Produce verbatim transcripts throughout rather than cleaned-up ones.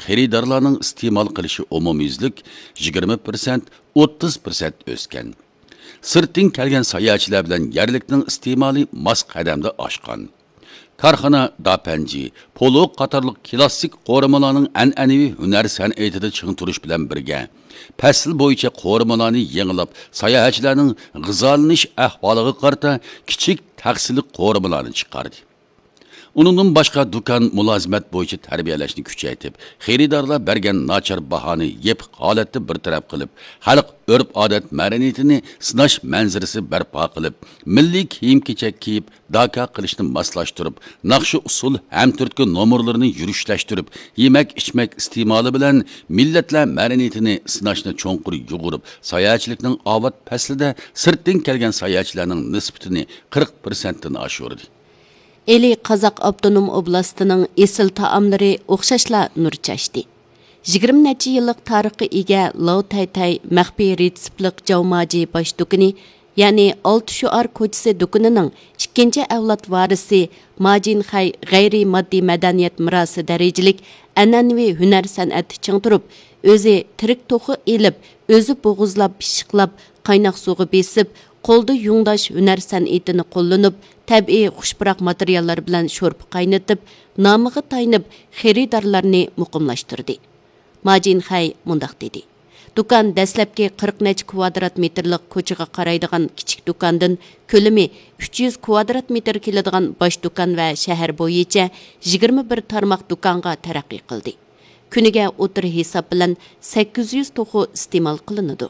خېرىدارلارنىڭ ئىستېمال قىلىشى ئومۇميۈزلۈك يىگىرمە پىرسەنت، ئوتتۇز پىرسەنت ئۆسكەن. سىرتتىن كەلگەن ساياھەتچىلەر بىلەن يەرلىكنىڭ ئىستېمالى ماس قەدەمدە ئاشقان. كارخانا داپەنجى، پولۇ قاتارلىق كىلاسسىك قورۇمىلارنىڭ ئەنئەنىۋى ھۈنەر سەنئىتىدە چىڭ تۇرۇش بىلەن بىرگە، پەسىل بويىچە قورۇمىلارنى يېڭىلاپ، ساياھەتچىلەرنىڭ غىزالىنىش ئەھۋالىغا قارىتا كىچىك تەخسىلىك قورۇمىلارنى چىقاردى. ئۇنىڭدىن باشقا، دۇكان مۇلازىمەت بويىچە تەربىيەلەشنى كۈچەيتىپ، خېرىدارلار بەرگەن ناچار باھانى يېپىق ھالەتتە بىر تەرەپ قىلىپ، خەلق ئۆرپ-ئادەت مەدەنىيىتىنى سىناش مەنزىرىسى بەرپا قىلىپ، مىللىي كىيىم-كېچەك كىيىپ، داكا قىلىشنى ماسلاشتۇرۇپ، ناخشا-ئۇسسۇل ھەمتۈرتكە نومۇرلىرىنى يۈرۈشلەشتۈرۈپ، يېمەك-ئىچمەك ئىستېمالى بىلەن مىللەتلەر مەدەنىيىتىنى سىناشنى چوڭقۇر يۇغۇرۇپ، ساياھەتچىلىكنىڭ ئاۋات پەسلىدە سىرتتىن كەلگەن ساياھەتچىلەرنىڭ نىسبىتىنى قىرىق پىرسەنتتىن ئاشۇردى. ئىلى قازاق ئاپتونوم ئوبلاستىنىڭ ئېسىل تائاملىرى ئوخشاشلا نۇر چاچتى. يىگىرمە نەچچە يىللىق تارىخقا ئىگە لاۋ تەيتەي مەخپىي رېتسېپلىق جاۋ ماجى باش دۇكىنى، يەنى ئالتە شوئار كوچىسى دۇكىنىنىڭ ئىككىنچى ئەۋلاد ۋارىسى ماجىن خەي غەيرىي ماددىي مەدەنىيەت مىراسى دەرىجىلىك ئەنئەنىۋى ھۈنەر سەنئەتتە چىڭ تۇرۇپ، ئۆزى تىرىك توخۇ ئېلىپ، ئۆزى بوغۇزلاپ، پىششىقلاپ، قايناق سۇغا بېسىپ، قولدا يۇڭداش ھۈنەر سەنئىتىنى قوللىنىپ، تەبىئىي خۇش پۇراق ماتېرىياللار بىلەن شورپا قاينىتىپ، نامىغا تايىنىپ، خېرىدارلارنى مۇقىملاشتۇردى. ماجىن خەي مۇنداق دېدى: دۇكان دەسلەپكى قىرىق نەچچە كۋادرات مېتىرلىق كوچىغا قارايدىغان كىچىك دۇكاندىن كۆلىمى ئۈچ يۈز كۋادرات مېتىر كېلىدىغان باش دۇكان ۋە شەھەر بويىچە يىگىرمە بىر تارماق دۇكانغا تەرەققىي قىلدى. كۈنىگە ئوتتۇرا ھېساب بىلەن سەككىز يۈز توخۇ ئىستېمال قىلىنىدۇ.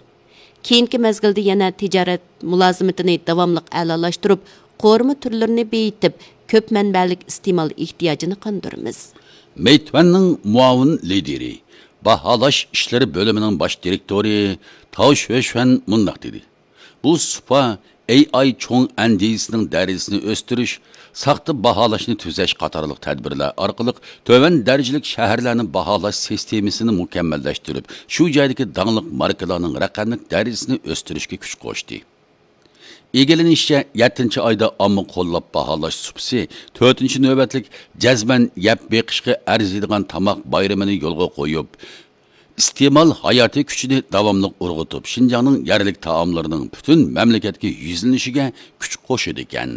كېيىنكى مەزگىلدە يەنە تىجارەت مۇلازىمىتىنى داۋاملىق ئەلالاشتۇرۇپ، قورۇما تۈرلىرىنى بېيىتىپ، كۆپ مەنبەلىك ئىستېمال ئېھتىياجىنى قاندۇرىمىز. مېيتۈەننىڭ مۇئاۋىن لىدىرى، باھالاش ئىشلىرى بۆلۈمىنىڭ باش دىرېكتورى تاۋ شۆشۈەن مۇنداق دېدى: بۇ سۇپا ئەي ئاي چوڭ ئەندىزىسىنىڭ دەرىجىسىنى ئۆستۈرۈش، ساختا باھالاشنى تۈزەش قاتارلىق تەدبىرلەر ئارقىلىق تۆۋەن دەرىجىلىك شەھەرلەرنى باھالاش سىستېمىسىنى مۇكەممەللەشتۈرۈپ، شۇ جايدىكى داڭلىق ماركىلارنىڭ رەقەملىك دەرىجىسىنى ئۆستۈرۈشكە كۈچ قوشتى. ئىگىلىنىشىچە، يەتتىنچى ئايدا ئامما قوللاپ باھالاش سۇپىسى تۆتىنچى نۆۋەتلىك جەزمەن يەپ بېقىشقا ئەرزىيدىغان تاماق بايرىمىنى يولغا قويۇپ، ئىستېمال ھاياتىي كۈچىنى داۋاملىق ئۇرغۇتۇپ، شىنجاڭنىڭ يەرلىك تائاملىرىنىڭ پۈتۈن مەملىكەتكە يۈزلىنىشىگە كۈچ قوشىدىكەن.